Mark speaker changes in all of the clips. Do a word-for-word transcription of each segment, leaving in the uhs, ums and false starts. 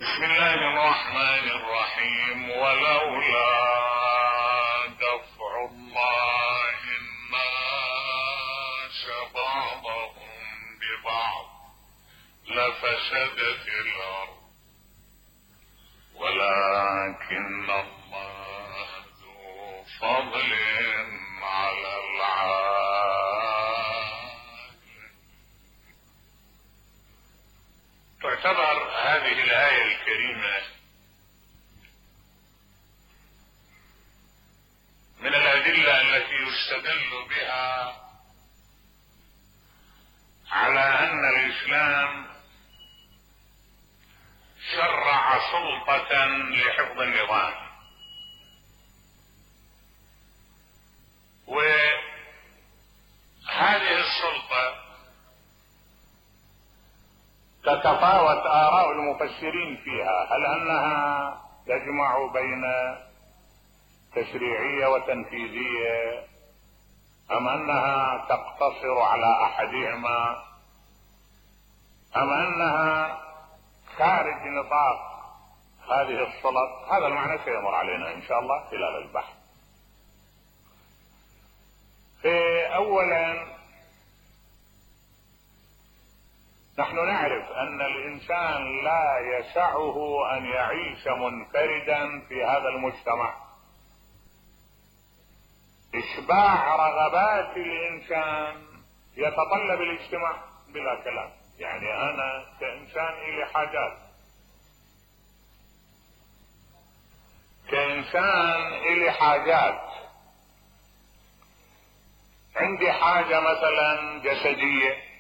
Speaker 1: بسم الله الرحمن الرحيم. ولولا دفع الله الناس بعضهم ببعض لفسدت الأرض ولكن الله ذو فضل على العالمين. تعتبر هذه الآية الكريمة من الأدلة التي يستدل بها على أن الإسلام شرع سلطة لحفظ النظام، وهذه السلطة تتفاوت آراء المفسرين فيها، هل أنها تجمع بين تشريعية وتنفيذية أم أنها تقتصر على أحدهما أم أنها خارج نطاق هذه السلط. هذا المعنى سيمر علينا إن شاء الله خلال البحث. أولا نحن نعرف أن الإنسان لا يسعه أن يعيش منفردا في هذا المجتمع. إشباع رغبات الإنسان يتطلب الاجتماع بلا كلام. يعني أنا كإنسان إلي حاجات، كإنسان إلي حاجات عندي حاجة مثلا جسدية،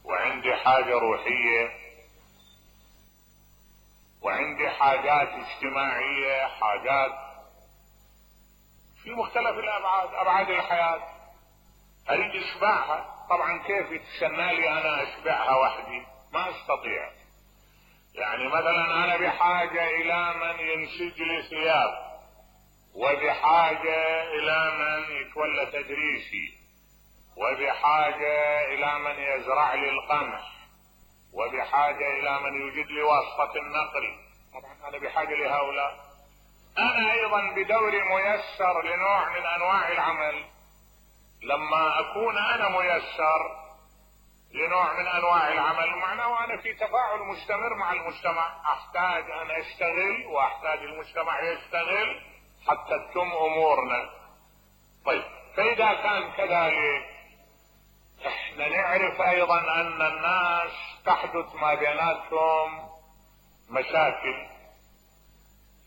Speaker 1: وعندي حاجة روحية، وعندي حاجات اجتماعية، حاجات في مختلف الأبعاد، أبعاد الحياة أريد إشباعها. طبعا كيف يتسنى لي أنا أشبعها وحدي؟ ما أستطيع. يعني مثلا أنا بحاجة إلى من ينسج لي ثياب، وبحاجة إلى من يتولى تدريسي، وبحاجة إلى من يزرع لي القمح، وبحاجة إلى من يوجد لي واسطة النقل. طبعا أنا بحاجة لهؤلاء. أنا أيضا بدوري ميسر لنوع من أنواع العمل. لما أكون أنا ميسر لنوع من أنواع العمل معناه أنا في تفاعل مستمر مع المجتمع. أحتاج أن أشتغل وأحتاج المجتمع يشتغل حتى تتم أمورنا. طيب، فإذا كان كذلك احنا نعرف ايضا ان الناس تحدث ما بيناتهم مشاكل،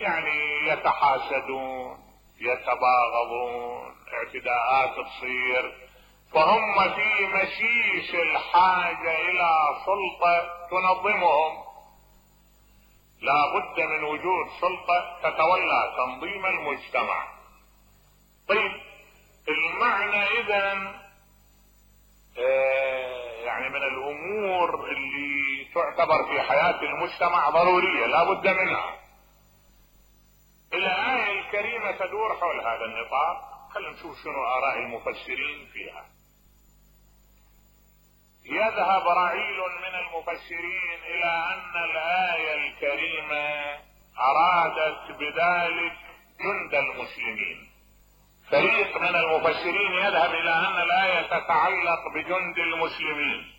Speaker 1: يعني يتحاسدون، يتباغضون، اعتداءات تصير، فهم في مشيش الحاجة الى سلطة تنظمهم. لا بد من وجود سلطة تتولى تنظيم المجتمع. طيب، المعنى اذن يعني من الامور اللي تعتبر في حياة المجتمع ضرورية لا بد منها. الآية الكريمة تدور حول هذا النطاق. خلينا نشوف شنو آراء المفسرين فيها. يذهب رعيل من المفسرين إلى أن الآية الكريمة أرادت بذلك جند المسلمين. فريق من المفسرين يذهب الى ان الايه تتعلق بجند المسلمين.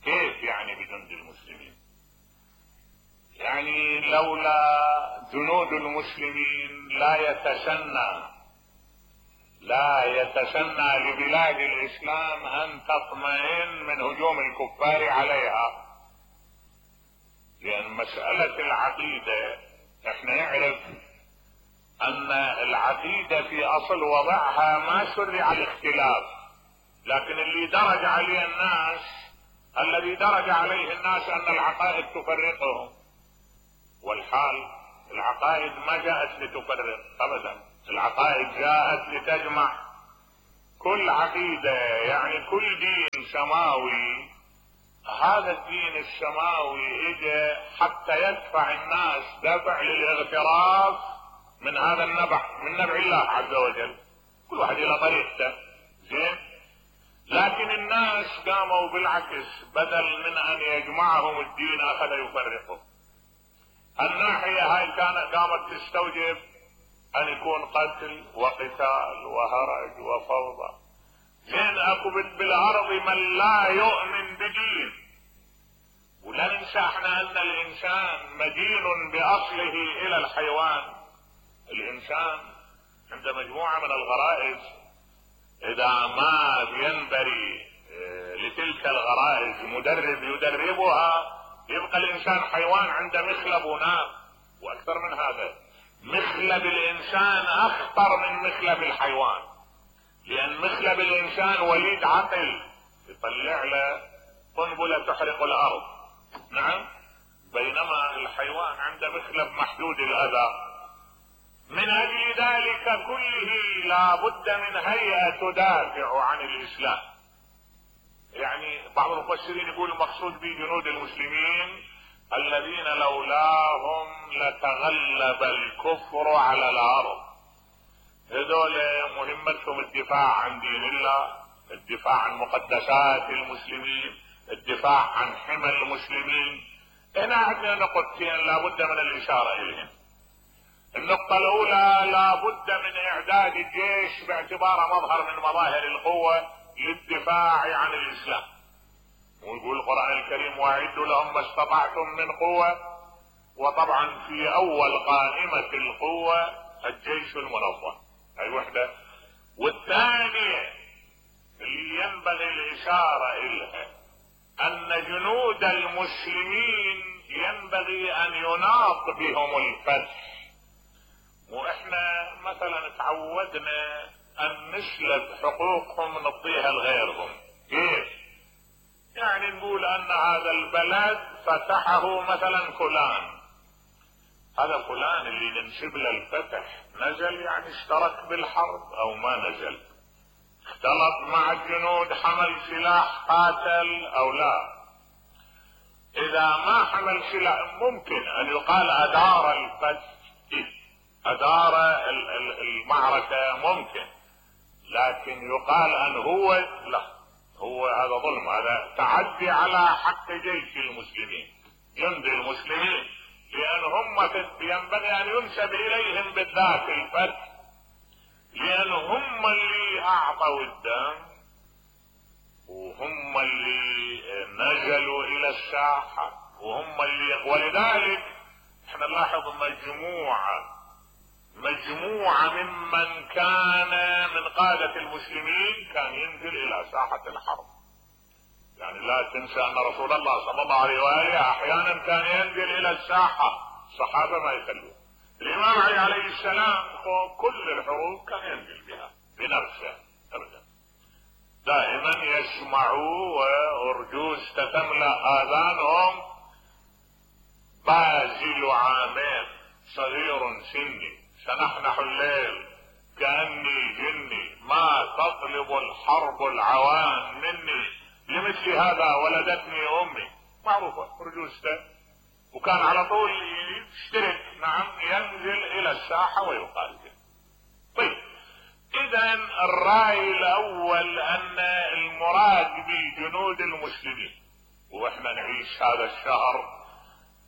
Speaker 1: كيف يعني بجند المسلمين؟ يعني لولا جنود المسلمين لا يتسنى لا يتسنى لبلاد الاسلام ان تطمئن من هجوم الكفار عليها. لان مسألة العقيدة احنا نعرف ان العقيدة في اصل وضعها ما شرع الاختلاف، لكن اللي درج عليه الناس الذي درج عليه الناس ان العقائد تفرقهم، والحال العقائد ما جاءت لتفرق ابدا، العقائد جاءت لتجمع. كل عقيدة يعني كل دين سماوي، هذا الدين السماوي اجى حتى يدفع الناس دفع للاغتراف من هذا النبع، من نبع الله عز وجل. كل واحد الى طريقته، زين. لكن الناس قاموا بالعكس، بدل من ان يجمعهم الدين اخذ يفرقه. الناحية هاي كانت قامت تستوجب ان يكون قتل وقتال وهرج وفوضى. زين اكو بالارض من لا يؤمن بدين. ولا ننسى احنا ان الانسان مدين باصله الى الحيوان. الانسان عند مجموعة من الغرائز اذا ما ينبري لتلك الغرائز مدرب يدربها يبقى الانسان حيوان عنده مخلب وناب. واكثر من هذا مخلب الانسان اخطر من مخلب الحيوان، لان مخلب الانسان وليد عقل يطلع له قنبلة تحرق الارض، نعم، بينما الحيوان عنده مخلب محدود الاذى. من اجل ذلك كله لا بد من هيئة تدافع عن الاسلام. يعني بعض المفسرين يقول المقصود به جنود المسلمين الذين لولاهم لتغلب الكفر على الارض. هذول مهمتهم الدفاع عن دين الله، الدفاع عن مقدسات المسلمين، الدفاع عن حمى المسلمين. هنا عندنا نقطتين لابد من الاشارة اليهم. النقطة الاولى لابد من اعداد الجيش باعتباره مظهر من مظاهر القوة للدفاع عن الاسلام. ويقول القرآن الكريم واعدوا لهم ما استطعتم من قوة. وطبعا في اول قائمة القوة الجيش المنظم، هاي وحدة. والثانية اللي ينبغي الاشارة اليها ان جنود المسلمين ينبغي ان يناط بهم الفتح. واحنا مثلا تعودنا ان نسلب حقوقهم نعطيها لغيرهم. كيف؟ يعني نقول ان هذا البلد فتحه مثلا فلان، هذا فلان اللي ننسب له الفتح نزل يعني اشترك بالحرب او ما نزل، اختلط مع الجنود، حمل سلاح، قاتل او لا. اذا ما حمل سلاح ممكن ان يقال ادار الفتح، ادار المعركة ممكن، لكن يقال ان هو لا، هو هذا ظلم، هذا تعدي على حق جيش المسلمين، جند المسلمين، لان هم ينبغي ان ينسب اليهم بالذات الفتح، لان هم اللي اعطوا الدم وهم اللي نزلوا الى الساحة وهم اللي، ولذلك احنا نلاحظ مجموعة مجموعة ممن كان من قادة المسلمين كان ينزل الى ساحة الحرب. يعني لا تنسى ان رسول الله صلى الله عليه وآله احيانا كان ينزل الى الساحة، الصحابة ما يخلوه. الامام علي عليه السلام كل الحروب كان ينزل بها بنفسه ابدا، دائما يسمعوا وارجوز تتملأ اذانهم بازل عامين صغير سني سنحنح الليل كأني جني ما تطلب الحرب العوان مني لمثل هذا ولدتني امي، معروفة رجوزته. وكان على طول يشترك، نعم، ينزل الى الساحة ويقاتل. طيب اذا الرأي الاول ان المراد بجنود المسلمين، واحنا نعيش هذا الشهر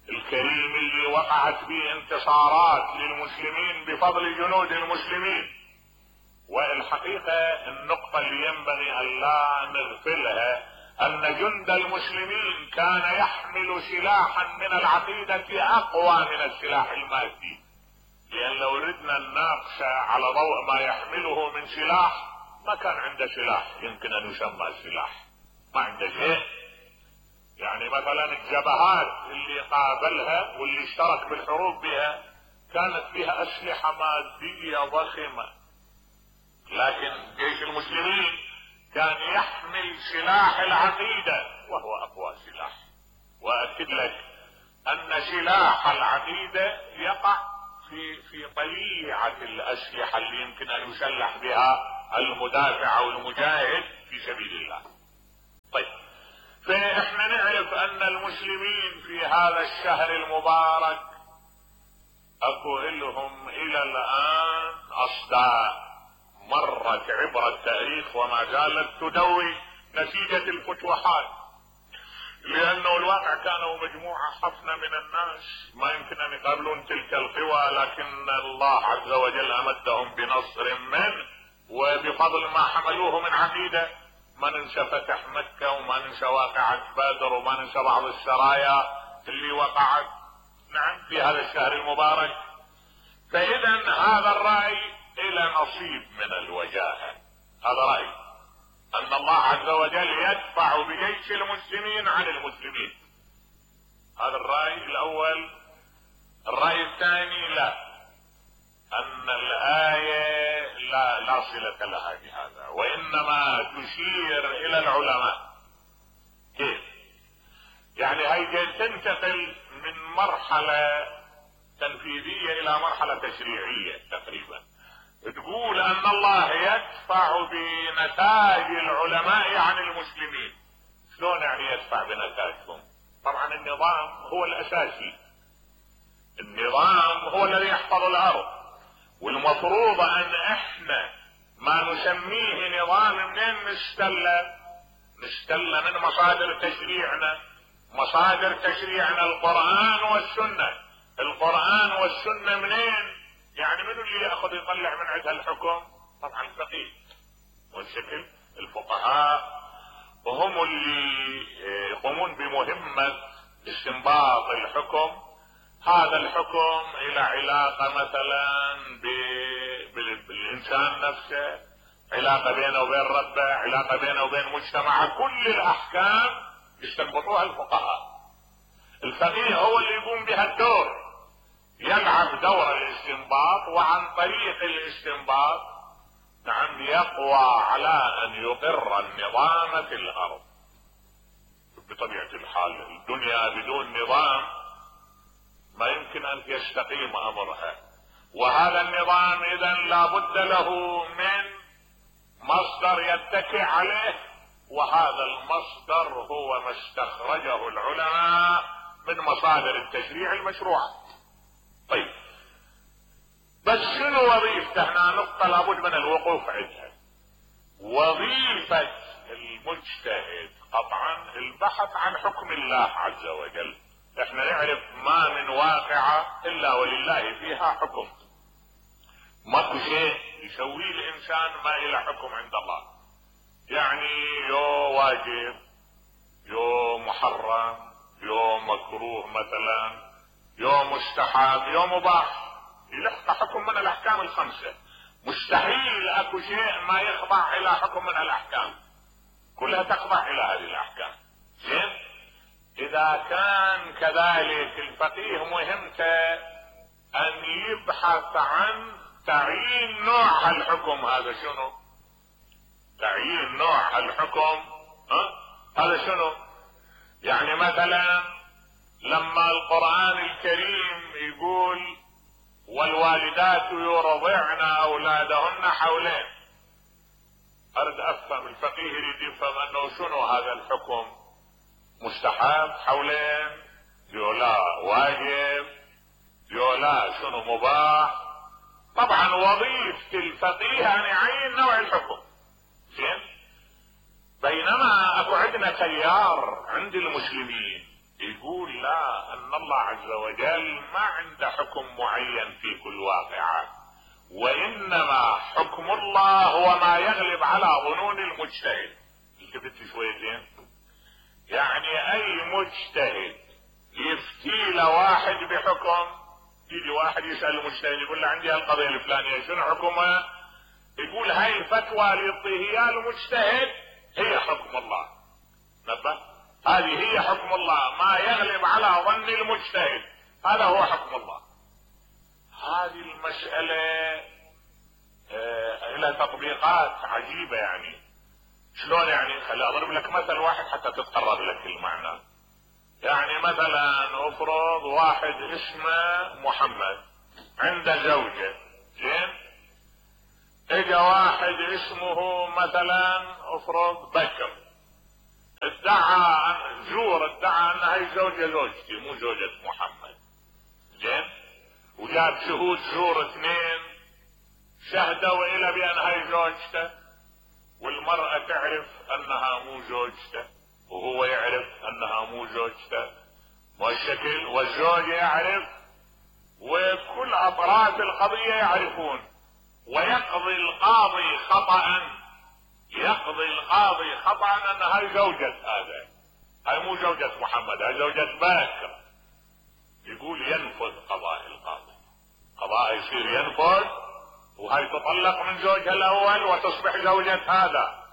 Speaker 1: الكريم اللي وقعت به انتصارات للمسلمين بفضل جنود المسلمين. والحقيقة النقطة اللي ينبغي ان لا نغفلها ان جند المسلمين كان يحمل سلاحا من العقيدة اقوى من السلاح المادي، لان لو ردنا نناقش على ضوء ما يحمله من سلاح ما كان عنده سلاح يمكن ان يسمى سلاح، ما عنده شيء. يعني مثلا الجبهات اللي قابلها واللي اشترك بالحروب بها كانت فيها اسلحة مادية ضخمة، لكن جيش المسلمين كان يحمل سلاح العقيدة وهو اقوى سلاح. واكد لك ان سلاح العقيدة يقع في في طليعة الاسلحة اللي يمكن ان يسلح بها المدافع او المجاهد في سبيل الله. طيب فاحنا نعرف ان المسلمين في هذا الشهر المبارك اكو لهم الى الان اصداء مرت عبر التاريخ وما زالت تدوي نتيجة الفتوحات. لانه الواقع كانوا مجموعة حفنة من الناس ما يمكن ان يقابلون تلك القوى، لكن الله عز وجل امدهم بنصر منه وبفضل ما حملوه من عقيدة. ما ننسى فتح مكة وما ننسى واقعة بدر وما ننسى بعض السرايا اللي وقعت نعم في هذا الشهر المبارك. فاذا هذا الرأي الى نصيب من الوجاهة. هذا رأي ان الله عز وجل يدفع بجيش المسلمين عن المسلمين. هذا الرأي الاول. الرأي الثاني لا، ان الآية لا, لا صلة لها بهذا، وانما تشير الى العلماء. كيف؟ يعني هي تنتقل من مرحلة تنفيذية الى مرحلة تشريعية تقريبا. تقول ان الله يدفع بنتاج العلماء عن المسلمين. شلون يعني يدفع بنتاجهم؟ طبعا النظام هو الاساسي، النظام هو الذي يحفظ الارض، والمفروض ان احنا ما نسميه نظام منين نستله؟ نستله من مصادر تشريعنا. مصادر تشريعنا القرآن والسنة. القرآن والسنة منين؟ يعني من اللي يأخذ يطلع من عندها الحكم؟ طبعا الفقيه والشكل الفقهاء، وهم اللي يقومون بمهمة استنباط الحكم. هذا الحكم الى علاقة مثلا بالانسان نفسه، علاقة بينه وبين ربه، علاقة بينه وبين مجتمعه. كل الاحكام يستنبطوها الفقهاء. الفقيه هو اللي يقوم بها الدور، يلعب دور الاستنباط، وعن طريق الاستنباط نعم يقوى على ان يقر النظام في الارض. بطبيعة الحال الدنيا بدون نظام ما يمكن ان يستقيم امرها، وهذا النظام اذا لابد له من مصدر يتكئ عليه، وهذا المصدر هو ما استخرجه العلماء من مصادر التشريع المشروعة. طيب بس شنو وظيفته؟ هنا نقطة لابد من الوقوف عندها. وظيفة المجتهد قطعا البحث عن حكم الله عز وجل. احنا نعرف ما من واقعة الا ولله فيها حكم. ماكو شيء يسويه الانسان ما الى حكم عند الله. يعني يو واجب، يو محرم، يو مكروه مثلا، يو مستحب، يو مباح، يلقى حكم من الاحكام الخمسة. مستحيل اكو شيء ما يخضع الى حكم من الاحكام، كلها تخضع الى هذه الاحكام. زين؟ اذا كان كذلك الفقيه مهمته ان يبحث عن تعيين نوع الحكم. هذا شنو؟ تعيين نوع الحكم. ها؟ هذا شنو؟ يعني مثلا لما القرآن الكريم يقول والوالدات يرضعن اولادهن حولين، اريد افهم الفقيه يريد يفهم انه شنو هذا الحكم؟ مستحب حولين، يولا واجب، يولا شنو مباح. طبعا وظيفة الفقيه ان يعين نوع الحكم. زين؟ بينما اكو عندنا تيار عند المسلمين يقول لا، ان الله عز وجل ما عنده حكم معين في كل واقعة، وانما حكم الله هو ما يغلب على ظنون المجتهد. التفت شويتين. يعني اي مجتهد يفتي له واحد بحكم، يجي واحد يسأل المجتهد يقول له عندي القضية الفلانية شنو حكمها؟ يقول هاي الفتوى اللي يعطيها اياه المجتهد هي حكم الله. نبه، هذه هي حكم الله، ما يغلب على ظن المجتهد هذا هو حكم الله. هذه المسألة آه لها تطبيقات عجيبة. يعني شلون؟ يعني خلي اضرب لك مثل واحد حتى تتقرب لك المعنى. يعني مثلا افرض واحد اسمه محمد عنده زوجة. زين؟ اجا واحد اسمه مثلا افرض بكر، ادعى زور ادعى ان هاي زوجة زوجتي مو زوجة محمد. زين؟ وجاب شهود زور اثنين شهدوا الى بان هاي زوجته، والمرأة تعرف انها مو زوجته، وهو يعرف انها مو زوجته، والشكل والزوج يعرف، وكل اطراف القضية يعرفون، ويقضي القاضي خطأ، يقضي القاضي خطأ ان هاي زوجة هذا، هاي مو زوجة محمد، هاي زوجة باكر. يقول ينفذ قضاء القاضي، قضاء يصير ينفذ، وهاي تطلق من زوجها الاول وتصبح زوجة هذا،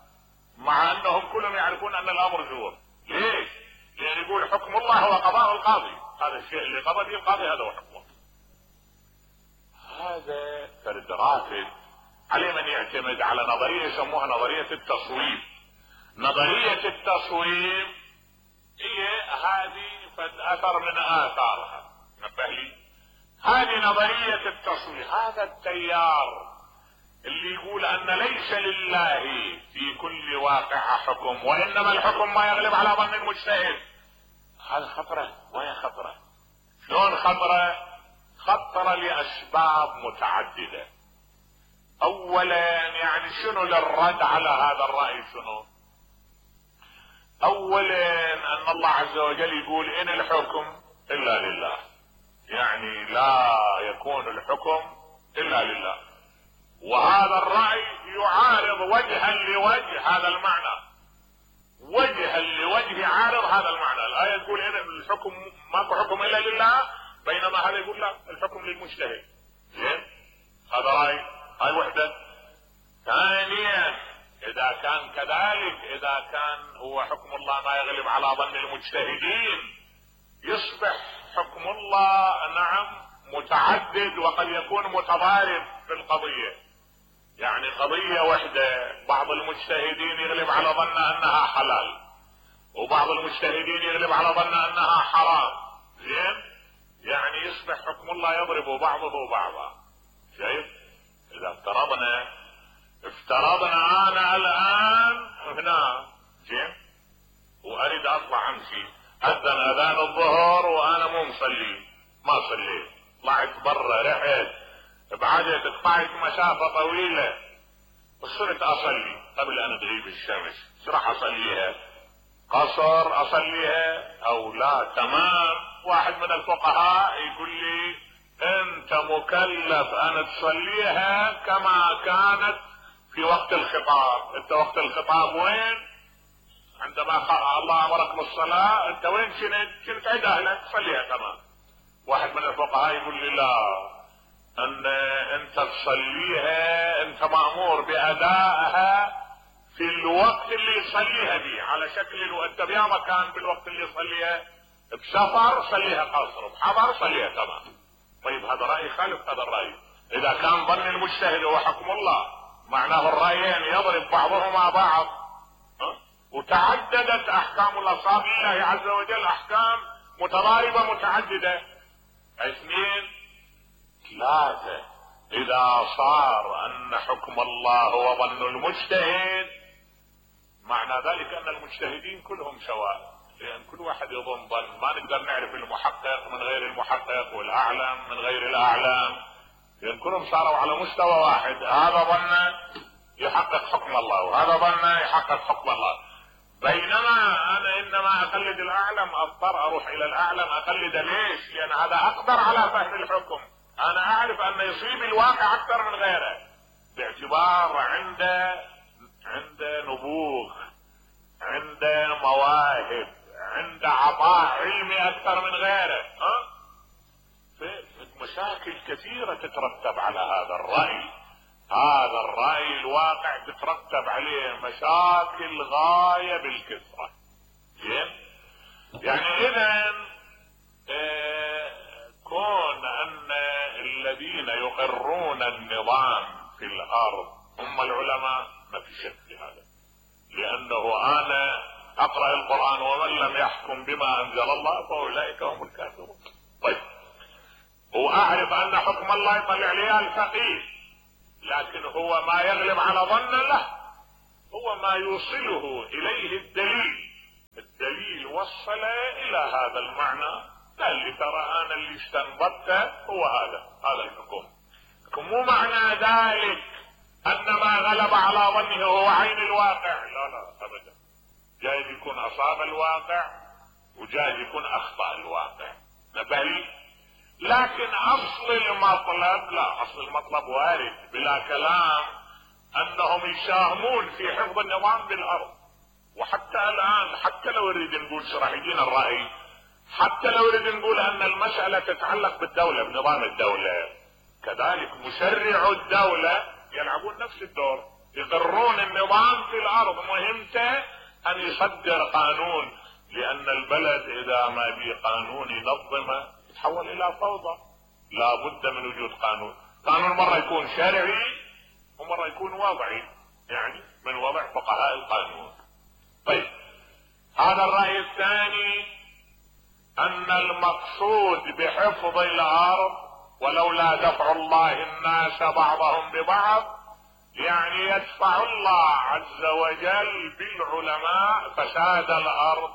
Speaker 1: مع انهم كلهم يعرفون ان الامر زور. ليش؟ لان يقول حكم الله هو قضاء القاضي، هذا الشيء اللي قضى به القاضي هذا هو حكمه. هذا فرد رافد عليه من يعتمد على نظرية يسموها نظرية التصويب. نظرية التصويب هي هذه فد اثر من اثارها، نبه لي، هذه نظرية التصويب. هذا التيار اللي يقول ان ليس لله في كل واقع حكم، وانما الحكم ما يغلب على ظن المجتهد، هذا خطرة. وين خطرة؟ شلون خطرة؟ خطرة لاسباب متعددة. اولا يعني شنو للرد على هذا الرأي؟ شنو؟ اولا ان الله عز وجل يقول ان الحكم الا لله، يعني لا يكون الحكم الا لله، وهذا الرأي يعارض وجها لوجه هذا المعنى، وجها لوجه يعارض هذا المعنى. الآية تقول ان الحكم ماكو حكم الا لله، بينما هذا يقول لا الحكم للمجتهد. زين، هذا رأي، هاي وحدة. ثانيا اذا كان كذلك، اذا كان هو حكم الله ما يغلب على ظن المجتهدين، يصبح حكم الله نعم متعدد وقد يكون متضارب في القضية. يعني قضية وحدة بعض المجتهدين يغلب على ظن انها حلال، وبعض المجتهدين يغلب على ظن انها حرام. زين، يعني يصبح حكم الله يضرب بعضه بعضا. شايف؟ اذا افترضنا افترضنا انا الان هنا زين واريد اطلع امشي، اذن اذان الظهر وانا مو مصلي، ما صليت، طلعت برا، رحت بعدت، قطعت مسافة طويلة وصرت اصلي قبل ان تغيب الشمس، شو راح اصليها؟ قصر اصليها او لا؟ تمام. واحد من الفقهاء يقول لي انت مكلف ان تصليها كما كانت في وقت الخطاب. انت وقت الخطاب وين؟ عندما الله امرك بالصلاة انت وين كنت؟ كنت عند اهلك، صليها تمام. واحد من الفقهاء يقول لي لا، ان انت تصليها، انت مأمور بادائها في الوقت اللي يصليها به، على شكل انت بيا مكان بالوقت اللي يصليها، بسفر صليها قصر، بحضر صليها تمام. طيب هذا رأي خالف هذا الرأي. اذا كان ظن المجتهد هو حكم الله، معناه الرأيين يضرب بعضهما بعض، وتعددت احكام الاصحاب لله عز وجل، احكام متضاربة متعددة. اثنين، ثلاثة، اذا صار ان حكم الله هو ظن المجتهد، معنى ذلك ان المجتهدين كلهم سواء، لان كل واحد يظن ظن، ما نقدر نعرف المحقق من غير المحقق والاعلم من غير الاعلم، لان كلهم صاروا على مستوى واحد، هذا ظن يحقق حكم الله وهذا ظن يحقق حكم الله. بينما انا انما اقلد الاعلم، اضطر اروح الى الاعلم اقلده. ليش؟ لان هذا اقدر على فهم الحكم، انا اعرف ان يصيب الواقع اكثر من غيره، باعتبار عنده عنده نبوغ، عنده مواهب، عنده عطاء علمي اكثر من غيره. ها؟ مشاكل كثيرة تترتب على هذا الرأي. هذا الرأي الواقع تترتب عليه مشاكل غاية بالكثرة. زين؟ يعني اذا اه كون ان الذين يقرون النظام في الارض هم العلماء، ما في شك في هذا، لانه انا اقرأ القرآن ومن لم يحكم بما انزل الله فاولئك هم الكافرون. طيب، واعرف ان حكم الله يطلع لي الفقيه، لكن هو ما يغلب على ظن له، هو ما يوصله اليه الدليل. الدليل وصل الى هذا المعنى، قال لي ترى انا اللي استنبطته هو هذا هذا الحكم. مو معنى ذلك ان ما غلب على ظنه هو عين الواقع، لا لا ابدا. جايز يكون اصاب الواقع وجايز يكون اخطأ الواقع، نبهي. لكن اصل المطلب لا، اصل المطلب وارد بلا كلام انهم يساهمون في حفظ النظام بالارض. وحتى الان حتى لو نريد نقول راح يجينا الرأي، حتى لو نريد نقول ان المسألة تتعلق بالدولة بنظام الدولة، كذلك مشرع الدولة يلعبون نفس الدور، يقرون النظام في الارض. مهمته ان يصدر قانون، لان البلد اذا ما به قانون ينظمه يتحول الى فوضى. لا بد من وجود قانون. قانون مرة يكون شرعي ومرة يكون وضعي، يعني من وضع فقهاء القانون. طيب هذا الرأي الثاني، ان المقصود بحفظ الارض ولولا دفع الله الناس بعضهم ببعض، يعني يدفع الله عز وجل بالعلماء فساد الارض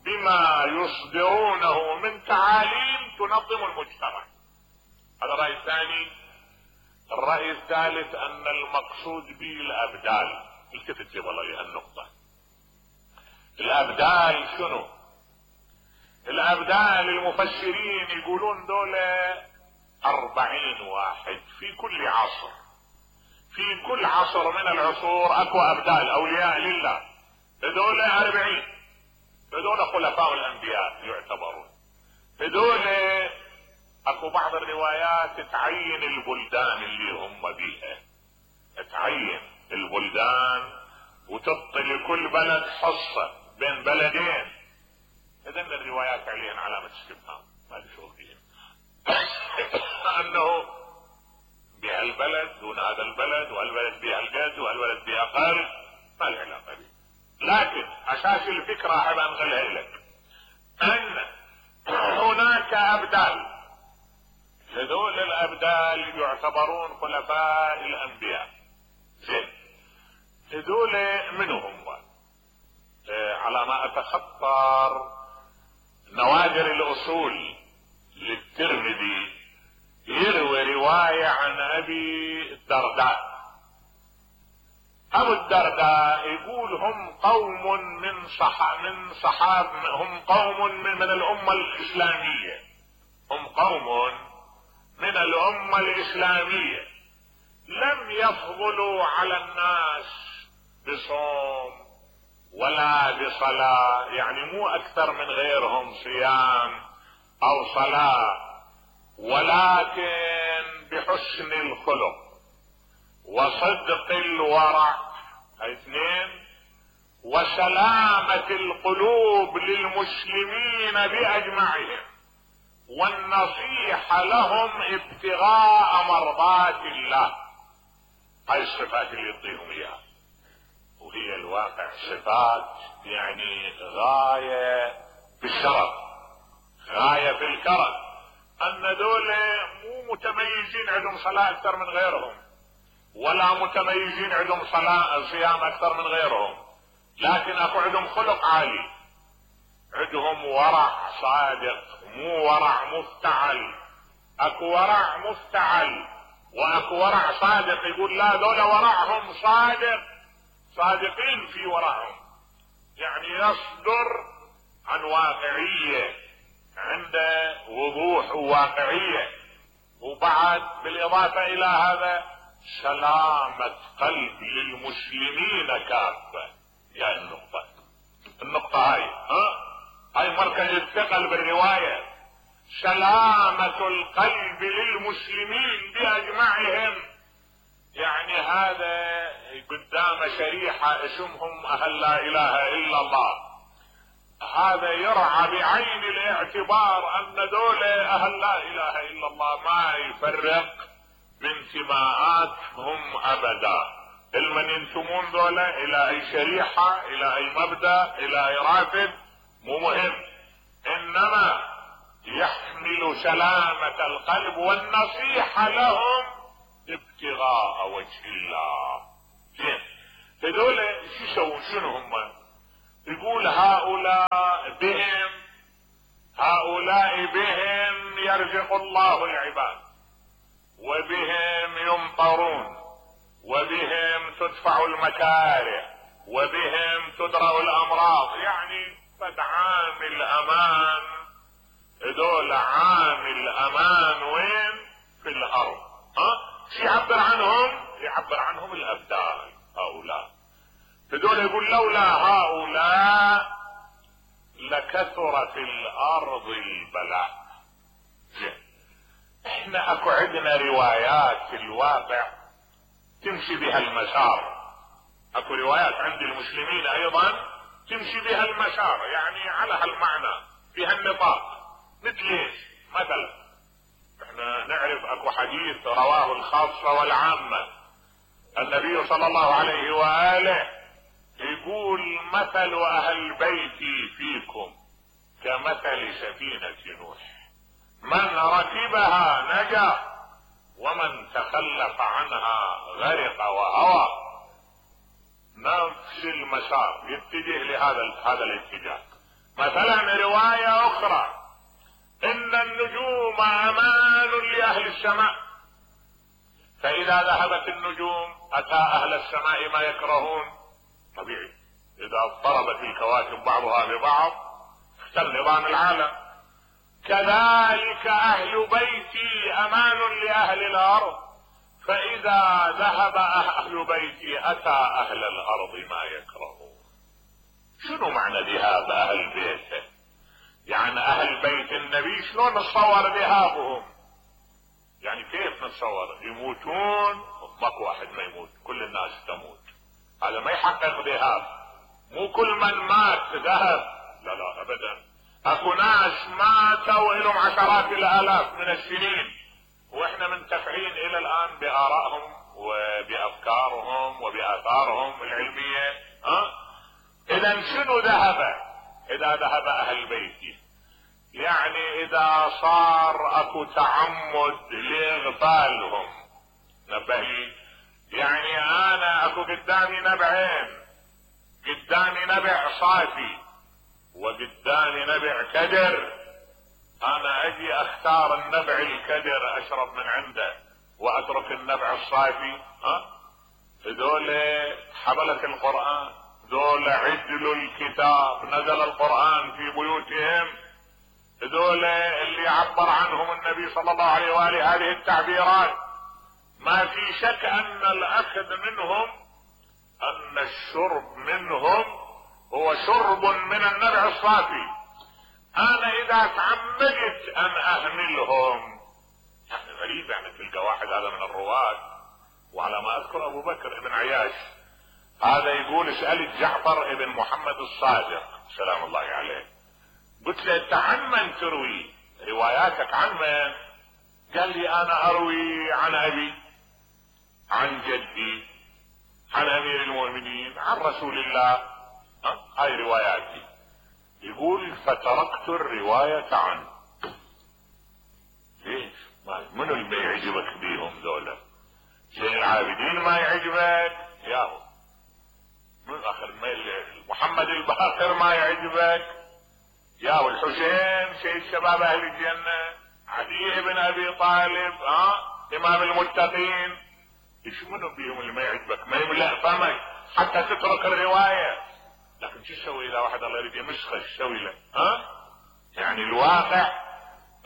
Speaker 1: بما يصدرونه من تعاليم تنظم المجتمع. هذا الرأي الثاني. الرأي الثالث ان المقصود به الابدال. التفت والله لهالنقطة. الابدال شنو؟ الابدال المفسرين يقولون دولة اربعين واحد في كل عصر. في كل عصر من العصور اكو ابدال اولياء لله، هذول اربعين. هذول خلفاء الانبياء يعتبرون. هذول اكو بعض الروايات تعين البلدان اللي هم بيها، تعين البلدان وتعطي لكل بلد حصة بين بلدين. اذن الروايات عليهن علامة استفهام، ما نشوف فيهن انه بهالبلد دون هذا البلد، وهالبلد بها القد وهالبلد بها اقل، ما له علاقة به. لكن اساس الفكرة احب انقلها لك، ان هناك ابدال. هذول الابدال يعتبرون خلفاء الانبياء. زين، هذول منو هم؟ اه على ما اتخطر نوادر الاصول للترمذي يروي رواية عن ابي الدرداء. ابو الدرداء يقول هم قوم من صح من صحاب هم قوم من, من الامة الاسلامية، هم قوم من الامة الاسلامية لم يفضلوا على الناس بصوم ولا بصلاة، يعني مو اكثر من غيرهم صيام او صلاة، ولكن بحسن الخلق وصدق الورع، اثنين، وسلامة القلوب للمسلمين باجمعهم، والنصيحة لهم ابتغاء مرضات الله. هاي الصفات اللي يعطيهم اياها، وهي الواقع صفات يعني غاية بالشرف، غاية في الكرم. ان دول مو متميزين عندهم صلاة اكثر من غيرهم، ولا متميزين عندهم صلاة صيام اكثر من غيرهم، لكن اكو عندهم خلق عالي، عندهم ورع صادق، مو ورع مفتعل. اكو ورع مفتعل واكو ورع صادق. يقول لا، دول ورعهم صادق، صادقين في ورعهم، يعني يصدر عن واقعية، عنده وضوح وواقعية. وبعد بالاضافة الى هذا سلامة قلب للمسلمين كافة. يعني النقطة النقطة هاي ها هاي مركز الثقل بالرواية، سلامة القلب للمسلمين بأجمعهم. يعني هذا قدام شريحة اسمهم اهل لا اله الا الله، هذا يرعى بعين الاعتبار ان دول اهل لا اله الا الله ما يفرق بانتماءاتهم ابدا. المن ينتمون دولة الى اي شريحة، الى اي مبدأ، الى اي رافد، مو مهم، انما يحمل سلامة القلب والنصيحة لهم ابتغاء وجه الله. زين، هذول شو يسوون؟ شنو هم؟ يقول هؤلاء بهم هؤلاء بهم يرزق الله العباد، وبهم يمطرون، وبهم تدفع المكاره، وبهم تدرأ الامراض، يعني قد عامل امان، دول عامل امان وين؟ في الارض. ها شو يعبر عنهم؟ يعبر عنهم الابدال هؤلاء. هذول يقول لولا هؤلاء لكثر في الارض البلاء. احنا اكو عندنا روايات في الواقع تمشي بها المسار، اكو روايات عند المسلمين ايضا تمشي بها المسار، يعني على هالمعنى بها النطاق. مثل ايش؟ مثلا احنا نعرف اكو حديث رواه الخاصة والعامة، النبي صلى الله عليه وآله يقول مثل اهل بيتي فيكم كمثل سفينة نوح، من ركبها نجا ومن تخلف عنها غرق وهوى. نفس المسار يتجه لهذا هذا الاتجاه. مثلا رواية اخرى ان النجوم امان لاهل السماء، فاذا ذهبت النجوم اتى اهل السماء ما يكرهون. طبيعي اذا اضطربت الكواكب بعضها ببعض اختل نظام العالم. كذلك اهل بيتي امان لاهل الارض، فاذا ذهب اهل بيتي اتى اهل الارض ما يكرهون. شنو معنى ذهاب اهل بيته؟ يعني اهل بيت النبي شلون نتصور ذهابهم؟ يعني كيف نتصور؟ يموتون؟ ماكو واحد ما يموت، كل الناس تموت، هذا ما يحقق ذهاب. مو كل من مات ذهب، لا لا ابدا. اكو ناس ماتوا لهم عشرات الالاف من السنين واحنا منتفعين الى الان بارائهم وبافكارهم وباثارهم العلمية. ها اذا شنو ذهب؟ اذا ذهب اهل بيتي، يعني اذا صار اكو تعمد لاغفالهم. نبهي، يعني انا اكو قدامي نبعين، قدامي نبع صافي وقدامي نبع كدر، انا اجي اختار النبع الكدر اشرب من عنده واترك النبع الصافي. ها هذول حملة القرآن، ذول عدل الكتاب، نزل القرآن في بيوتهم، هذول اللي عبر عنهم النبي صلى الله عليه وآله هذه التعبيرات. ما في شك ان الاخذ منهم، ان الشرب منهم هو شرب من النبع الصافي. انا اذا تعمدت ان اهملهم، يعني غريب، يعني تلقى واحد هذا من الرواة، وعلى ما اذكر ابو بكر ابن عياش هذا يقول اسأل جعفر ابن محمد الصادق سلام الله عليه، قلت له انت عن من تروي رواياتك؟ عن من؟ قال لي انا اروي عن ابي، عن جدي، عن امير المؤمنين، عن رسول الله. ها هاي رواياتي. يقول فتركت الرواية عنه. ليش؟ منو اللي ما يعجبك بيهم ذولا؟ زين العابدين ما يعجبك؟ ياهو من اخر محمد الباقر ما يعجبك؟ ياهو الحسين سيد شباب اهل الجنة، علي بن ابي طالب، ها امام المتقين. ايش منو بيهم اللي ما يعجبك؟ ما يملأ فمك حتى تترك الرواية. لكن شو تسوي اذا واحد الله يريد يمسخ؟ ايش تسوي له؟ ها يعني الواقع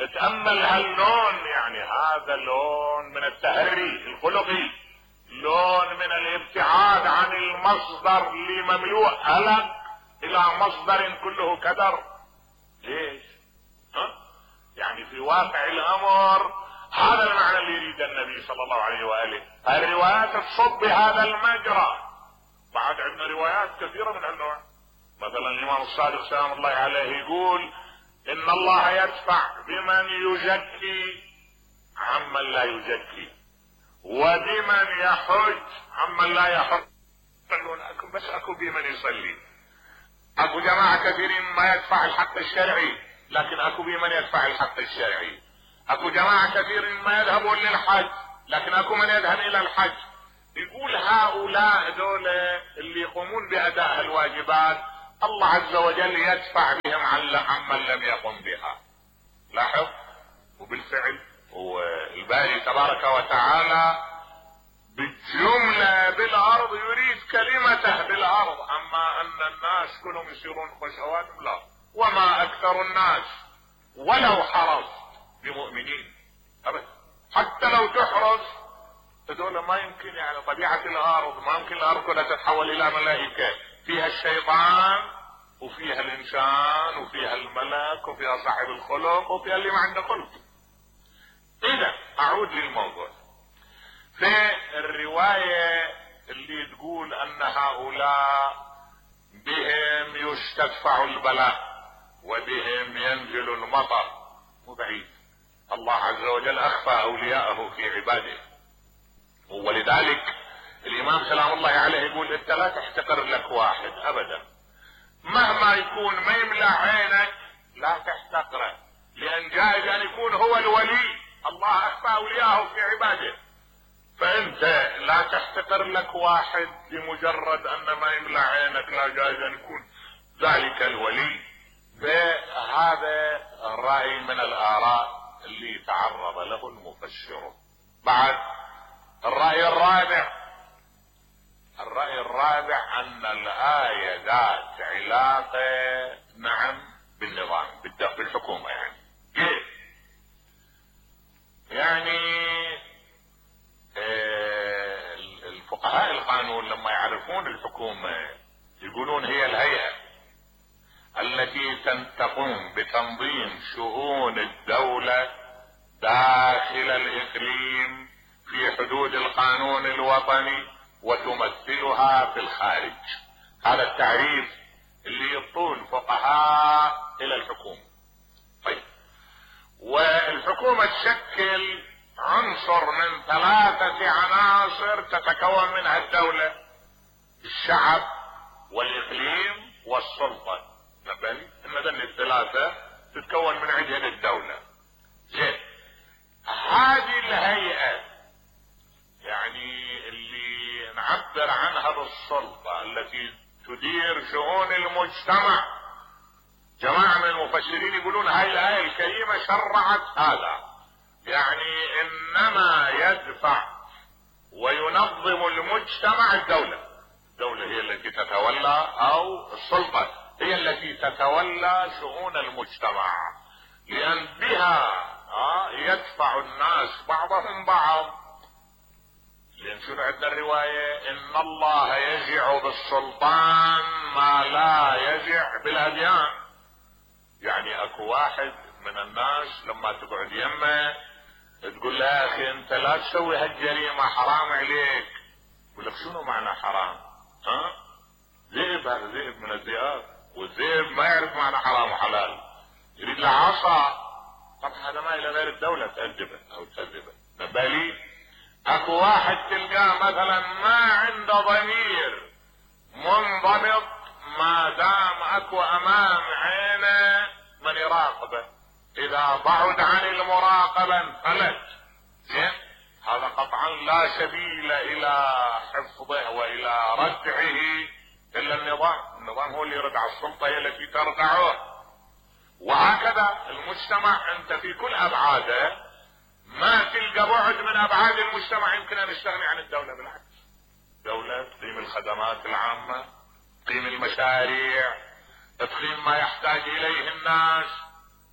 Speaker 1: اتأمل هاللون، يعني هذا لون من التهري الخلقي، لون من الابتعاد عن المصدر اللي مملوء ألم الى مصدر كله كدر. ليش؟ ها يعني في واقع الامر هذا المعنى اللي يريد النبي صلى الله عليه وآله. الروايات تصب بهذا المجرى. بعد عندنا روايات كثيرة من هالنوع. مثلا الامام الصادق سلام الله عليه يقول ان الله يدفع بمن يزكي عمن لا يزكي، وبمن يحج عمن لا يحج. اكو بس اكو بمن يصلي. اكو جماعة كثيرين ما يدفع الحق الشرعي، لكن اكو بمن يدفع الحق الشرعي. اكو جماعة كثيرين ما يذهبون للحج، لكن اكو من يذهب الى الحج. يقول هؤلاء دول اللي يقومون باداء الواجبات الله عز وجل يدفع بهم عمن لم يقم بها. لاحظ، وبالفعل والباري تبارك وتعالى بالجملة بالارض يريد كلمته بالارض الناس كلهم يصيرون خشوات؟ لا. وما اكثر الناس ولو حرصت بمؤمنين ابدا. حتى لو تحرص هذول ما يمكن، يعني طبيعة الارض ما يمكن الارض كلها تتحول الى ملائكة، فيها الشيطان وفيها الانسان وفيها الملك وفيها صاحب الخلق وفيها اللي ما عنده خلق. اذا اعود للموضوع، في الرواية اللي تقول ان هؤلاء بهم يستدفع البلاء وبهم ينزل المطر، مو بعيد. الله عز وجل اخفى اولياءه في عباده، ولذلك الامام سلام الله عليه يقول انت لا تحتقر لك واحد ابدا، مهما يكون ما يملأ عينك لا تحتقره، لان جائز ان يكون هو الولي، الله اخفى اولياءه في عباده، فانت لا تحتقر لك واحد لمجرد ان ما يملأ عينك، لا جائز ان يكون ذلك الولي. فهذا الرأي من الاراء اللي تعرض له المفسر. بعد الرأي الرابع، الرأي الرابع ان الآية ذات علاقة نعم بالنظام بالحكومة. يعني كيف؟ يعني آه الفقهاء القانون لما يعرفون الحكومة يقولون هي الهيئة التي تقوم بتنظيم شؤون الدولة داخل الإقليم في حدود القانون الوطني وتمثلها في الخارج. هذا التعريف اللي يطول فقهاء الى الحكومة. طيب، والحكومة تشكل عنصر من ثلاثة عناصر تتكون منها الدولة: الشعب والاقليم والسلطة. نبالي ان ذني الثلاثة تتكون من عندهم الدولة. زين، هذه الهيئة يعني اللي نعبر عنها بالسلطة التي تدير شؤون المجتمع، جماعة من المفسرين يقولون هاي الآية الكريمة شرعت هذا، يعني انما يدفع وينظم المجتمع الدولة. الدولة هي التي تتولى، او السلطة هي التي تتولى شؤون المجتمع، لان بها يدفع الناس بعضهم بعض. لان شنو عندنا الرواية ان الله يجع بالسلطان ما لا يجع بالاديان. يعني اكو واحد من الناس لما تقعد يمه تقول له يا اخي انت لا تسوي هالجريمة حرام عليك، يقول لك شنو معنى حرام؟ ها؟ ذئب، هذا ذئب من الذئاب، والذئب ما يعرف معنى حرام وحلال، يريد له عصا. طبعا هذا ما الى غير الدولة تأدبه او تأدبه. نبالي اكو واحد تلقاه مثلا ما عنده ضمير منضبط ما دام اكو امام عينه من يراقبه، اذا بعد عن المراقبة انفلت. زين، هذا قطعا لا سبيل الى حفظه والى ردعه الا النظام. النظام هو اللي يرد على السلطة، هي التي تردعه. وهكذا المجتمع انت في كل ابعاده ما تلقى بعد من ابعاد المجتمع يمكن ان يستغني عن الدولة. بالعكس، الدولة تقيم الخدمات العامة، تقيم المشاريع، تقيم ما يحتاج اليه الناس،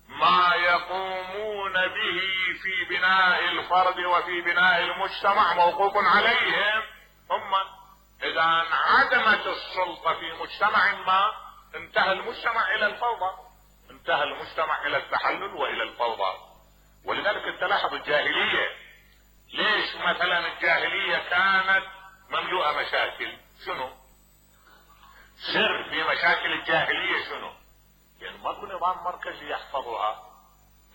Speaker 1: ما يقومون به في بناء الفرد وفي بناء المجتمع موقوف عليهم هم. اذا انعدمت السلطة في مجتمع ما انتهى المجتمع الى الفوضى، انتهى المجتمع الى التحلل والى الفوضى. ولذلك تلاحظ الجاهلية، ليش مثلا الجاهلية كانت مملوءة مشاكل؟ شنو سر في مشاكل الجاهلية؟ شنو؟ يعني ماكو نظام مركزي يحفظها،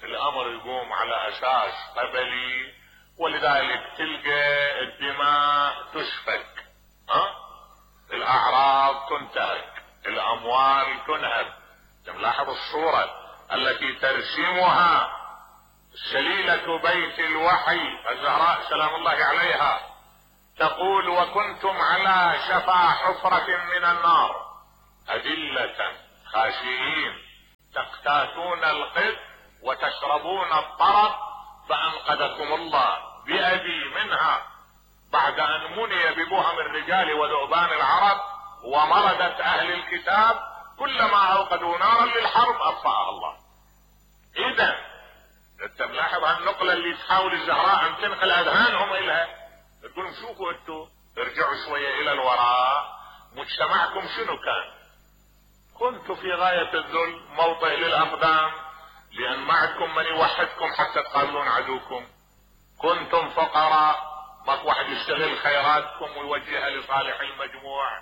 Speaker 1: الامر يقوم على اساس قبلي، ولذلك تلقى الدماء تسفك، ها؟ الاعراض تنتهك، الاموال تنهب. تلاحظ الصورة التي ترسمها سليلة بيت الوحي الزهراء سلام الله عليها، تقول وكنتم على شفا حفرة من النار أذلة خاشعين تقتاتون القذ وتشربون الطرف فأنقذكم الله بأبي منها بعد أن مني ببهم الرجال وذؤبان العرب ومردة اهل الكتاب كلما اوقدوا نارا للحرب اطفأها الله. اذا انت ملاحظ هالنقلة اللي تحاول الزهراء ان تنقل اذهانهم الها، تقول شوفوا انتوا ارجعوا شوية الى الوراء، مجتمعكم شنو كان؟ كنتوا في غاية الذل، موطئ للاقدام، لان ما عندكم من يوحدكم حتى تقابلون عدوكم. كنتم فقراء، ماك واحد يستغل خيراتكم ويوجهها لصالح المجموع.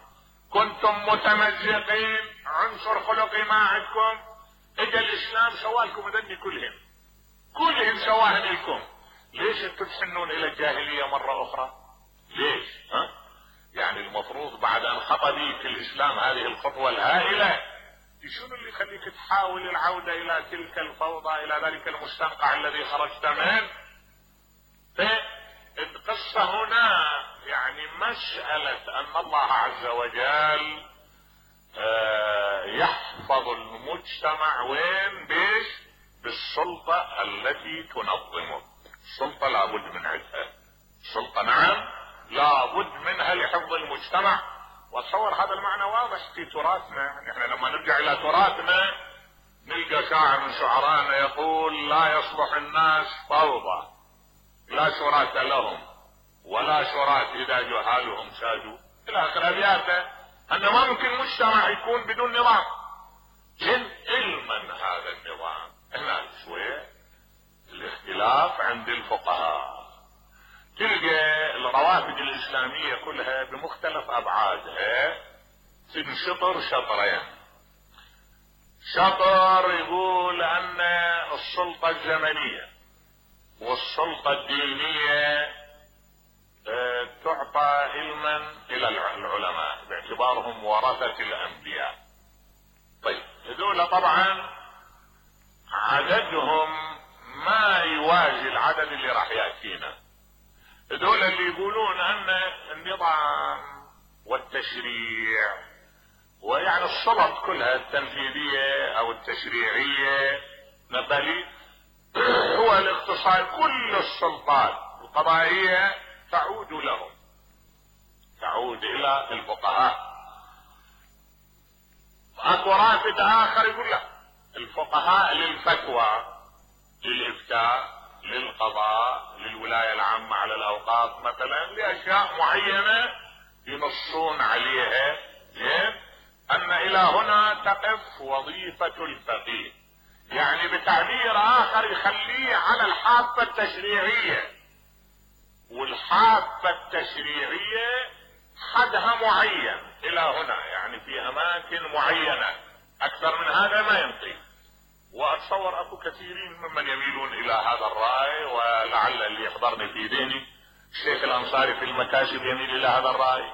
Speaker 1: كنتم متمزقين، عنصر خلقي ما عندكم. اجا الاسلام سوالكم ذني كلهم كلهم سواهن لكم. ليش انتم تحنون الى الجاهلية مرة اخرى؟ ليش؟ ها؟ يعني المفروض بعد ان خطى بيك الاسلام هذه الخطوة الهائلة، شنو اللي يخليك تحاول العودة الى تلك الفوضى، الى ذلك المستنقع الذي خرجت منه؟ فالقصة هنا يعني مسألة ان الله عز وجل يحفظ المجتمع وين؟ بيش؟ بالسلطة التي تنظمه. السلطة لابد من عندها، السلطة نعم لابد منها لحفظ المجتمع. واتصور هذا المعنى واضح في تراثنا. يعني احنا لما نرجع الى تراثنا نلقى شاعر من شعرائنا يقول: لا يصلح الناس فوضى، لا شراة لهم ولا شراة اذا جهالهم سادوا، الى اخر ابياته. ان ما ممكن مجتمع يكون بدون نظام. جن علما هذا النظام هنا شوية الاختلاف عند الفقهاء. تلقى الروافد الاسلامية كلها بمختلف ابعادها تنشطر شطرين. شطر يقول ان السلطة الزمنية والسلطة الدينية اه تعطى علما الى العلماء باعتبارهم ورثة الانبياء. طيب هذول طبعا عددهم ما يوازي العدد اللي راح يأتينا. هذول اللي يقولون ان النظام والتشريع ويعني السلط كلها التنفيذية او التشريعية نبالي هو الاختصار، كل السلطات القضائية تعود لهم، تعود الى الفقهاء. اكو رافد اخر يقول لا، الفقهاء للفتوى، للافتاء، للقضاء، للولاية العامة على الاوقاف مثلا، لاشياء معينة ينصون عليها. زين، ان الى هنا تقف وظيفة الفقيه. يعني بتعبير اخر يخليه على الحافة التشريعية، والحافة التشريعية حدها معين الى هنا، يعني في اماكن معينة، اكثر من هذا ما يمضي. واتصور اكو كثيرين ممن يميلون الى هذا الرأي، ولعل اللي يحضرني في ذهني الشيخ الانصاري في المكاسب يميل الى هذا الرأي،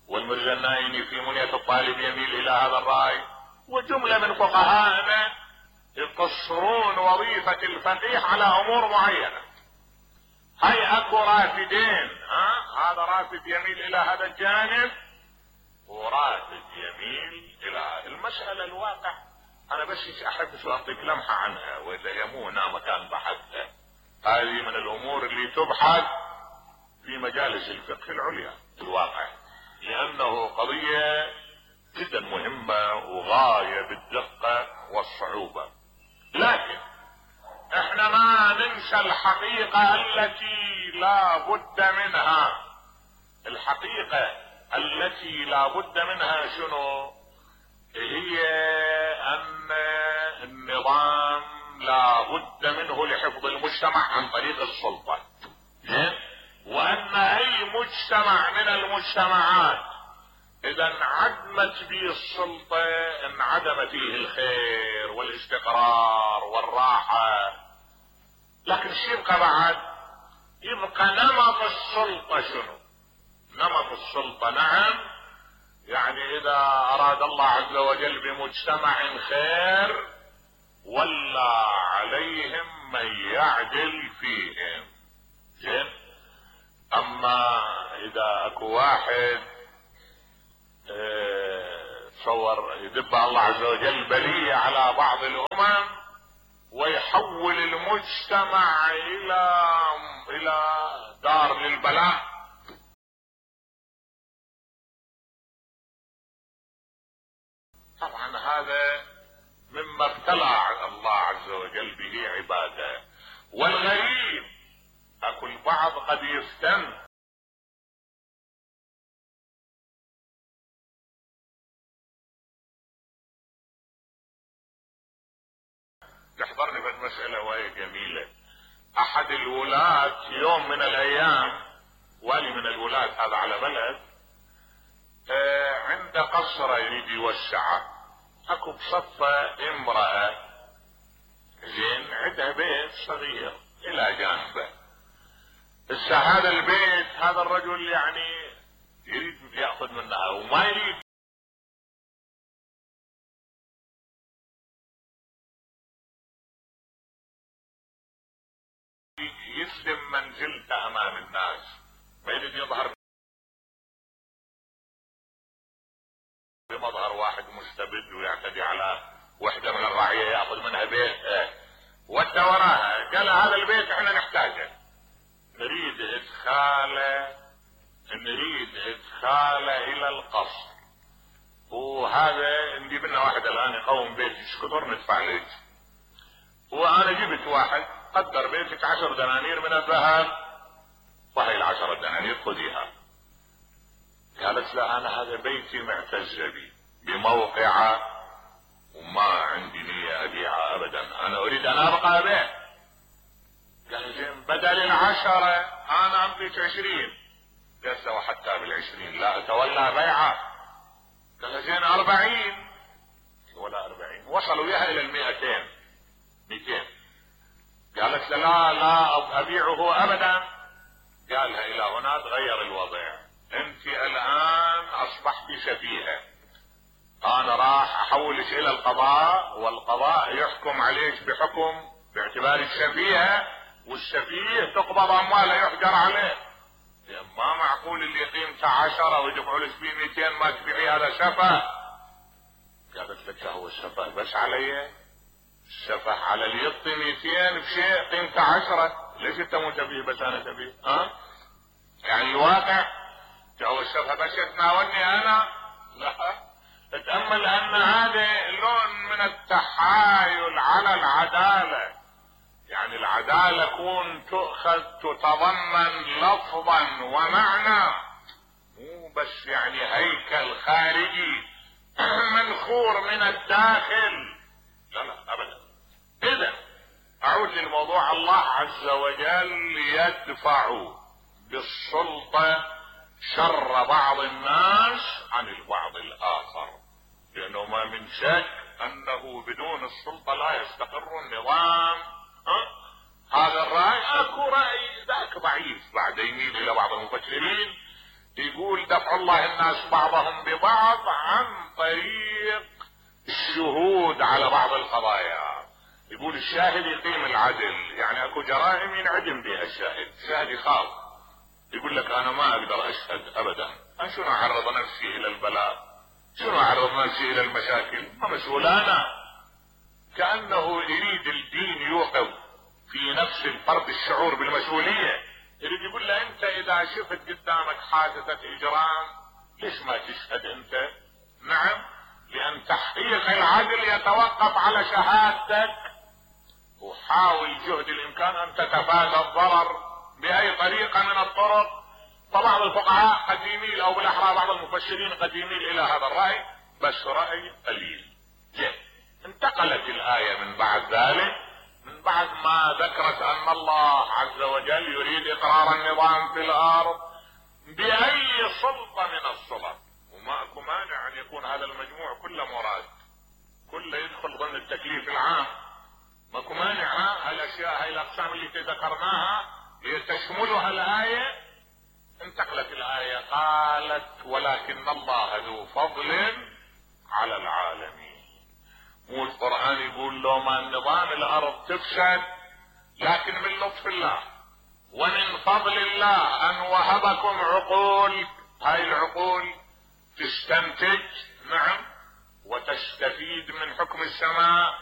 Speaker 1: والمرزا النايني في منية الطالب يميل الى هذا الرأي، وجملة من فقهائنا يقصرون وظيفة الفقيه على امور معينة. هاي اكو رافدين، ها هذا رافد يميل الى هذا الجانب ورافد يميل الى المسألة. الواقع انا بس احب شو اعطيك لمحة عنها، واذا يمو هنا مكان بحثها. هذه من الامور اللي تبحث في مجالس الفقه العليا الواقع، لانه قضية جدا مهمة وغاية بالدقة والصعوبة. لكن احنا ما ننسى الحقيقة التي لا بد منها. الحقيقة التي لا بد منها شنو؟ هي ان النظام لا بد منه لحفظ المجتمع عن طريق السلطة. وان اي مجتمع من المجتمعات اذا انعدمت به السلطة انعدم فيه الخير والاستقرار والراحة. لكن شو يبقى بعد؟ يبقى نمط السلطة. شنو نمط السلطة؟ نعم، يعني اذا اراد الله عز وجل بمجتمع خير ولى عليهم من يعدل فيهم. زين، اما اذا اكو واحد تصور يدب الله عز وجل بلية على بعض الامم ويحول المجتمع الى الى دار للبلاء، هذا مما ابتلى الله عز وجل به عباده. والغريب اكو البعض قد يفتن تحضرني بالمسألة وهي جميلة. احد الولاة يوم من الايام، والي من الولاة هذا على بلد، آه عند قصر يريد يوسعه، اكو بصفة امرأة زين عندها بيت صغير الى جانبه. هسه هذا البيت هذا الرجل يعني يريد ياخذ منها وما يريد يسلم منزلته امام الناس، ما يريد يظهر بمظهر واحد مستبد ويعتدي على وحده من الرعيه ياخذ منها بيت ودى وراها. قال هذا البيت احنا نحتاجه، نريد ادخاله نريد ادخاله الى القصر، وهذا نجيب لنا واحد الان يقوم بيت شكر ندفع له. وانا جبت واحد قدر بيتك عشر دنانير من الذهب، وهي العشر دنانير خذيها. قالت لا انا هذا بيتي معتز بي بموقعه وما عندي نية ابيعه ابدا، انا اريد ان ابقى به. قال زين بدل العشرة انا املك عشرين. قال وحتى بالعشرين لا اتولى بيعه. قال زين اربعين ولا اربعين. وصلوا بها الى المئتين مئتين. قالت لا لا ابيعه ابدا. قالها الى هنا تغير الوضع، انت الان اصبحت سفيهة، انا راح احولك الى القضاء والقضاء يحكم عليك بحكم باعتبارك سفيهة، والسفيه تقبض امواله يحجر عليه. ما معقول اللي قيمته عشرة ويدفعوا لك فيه مئتين ما تبيعي، هذا سفه. قالت لك هو السفه بس علي؟ السفه على اللي يعطي مئتين بشيء قيمته عشرة، ليش انت مو سفيه بس انا سفيه؟ ها؟ يعني الواقع هو السفه بس يتناولني انا؟ لا، اتأمل ان هذا لون من التحايل على العدالة. يعني العدالة كون تؤخذ تتضمن لفظا ومعنى، مو بس يعني هيكل خارجي منخور من الداخل. لا لا ابدا. اذا اعود للموضوع، الله عز وجل يدفع بالسلطة شر بعض الناس عن البعض الاخر، لانه ما من شك انه بدون السلطة لا يستقر النظام. أه؟ هذا الرأي اكو رأي ذاك ضعيف بعد يميل الى بعض المفكرين يقول دفع الله الناس بعضهم ببعض عن طريق الشهود على بعض القضايا. يقول الشاهد يقيم العدل، يعني اكو جرائم ينعدم بها الشاهد، الشاهد يخاف يقول لك انا ما اقدر اشهد ابدا، انا شنو اعرض نفسي الى البلاء، شنو اعرض نفسي الى المشاكل، ما مسؤول انا. كأنه يريد الدين يوقظ في نفس الفرد الشعور بالمسؤولية، يريد يقول له انت اذا شفت قدامك حادثة اجرام ليش ما تشهد انت؟ نعم، لان تحقيق العدل يتوقف على شهادتك، وحاول جهد الامكان ان تتفادى الضرر باي طريقة من الطرق. فبعض الفقهاء قد يميل او بالاحرى بعض المفسرين قد يميل الى هذا الرأي، بس رأي قليل. جيد. انتقلت الآية من بعد ذلك، من بعد ما ذكرت ان الله عز وجل يريد اقرار النظام في الارض باي سلطة من السلط، وما اكو مانع ان يكون هذا المجموع كله مراد، كله يدخل ضمن التكليف العام، ماكو مانع. هالاشياء هاي الاقسام اللي ذكرناها تشملها الآية. انتقلت الآية قالت ولكن الله ذو فضل على العالمين. مو القرآن يقول لو ما النظام الارض تفسد لكن من لطف الله ومن فضل الله ان وهبكم عقول، هاي العقول تستنتج نعم وتستفيد من حكم السماء